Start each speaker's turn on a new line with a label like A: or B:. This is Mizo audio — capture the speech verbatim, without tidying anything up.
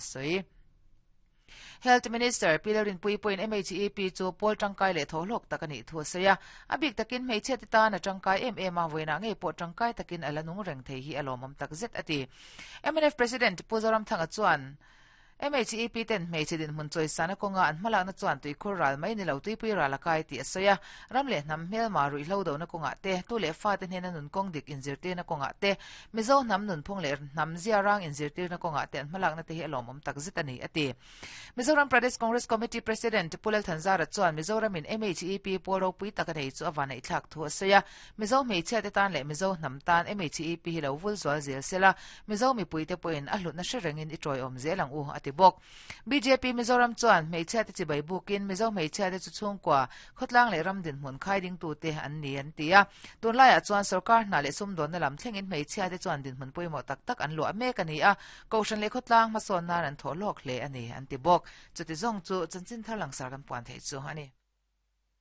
A: Soi Health Minister Pilarin pui point M H E P chu pol tangkai le tholok takani thu saya abik takin hmeichhe te tan a tangkai em em a voina ngei po tangkai takin alanung reng thei hi alomam takzet ati M N F President Puzoram Thanga chuan M H E P ten hmeichhe din hmun choi sana konga an hmalak na chuan tui khur ral mai ni lo tui pui ral akai ti asoya ramle nam hmel ma rui hlo do na konga te tu le fa te hnen nun kong dik in zirtir na konga te mizo nam nun phung le nam zia rang in zirtir na konga te an hmalak na te hi alomam takzet ani ati Mizoram Pradesh Congress Committee President Pulal Thanzara chuan Mizoram in M H E P polo pui takanei chu awana i thlak thu asoya Mizo hmeichhe te tan le Mizo nam tan M H E P hi lo vul zual zel sela Mizo mi pui te poin a hlut na hrerengin i troi om zelang u ati bok B J P Mizoram chuan hmeichhe te chibai bukin Mizo hmeichhe te chu chhungkua khawtlang leh ram din hmun khai ding tu te an ni an tia tunlaiah chuan sarkar hna leh sumdawn na lam thlengin hmeichhe te chuan din hmun pawimawh tak tak an luah mek ani a kohhran leh khawtlang hmasawn nan an thaw lawk hle ani an ti bawk chuti zawng chu chanchin thar langsar kan puan thei chu ani.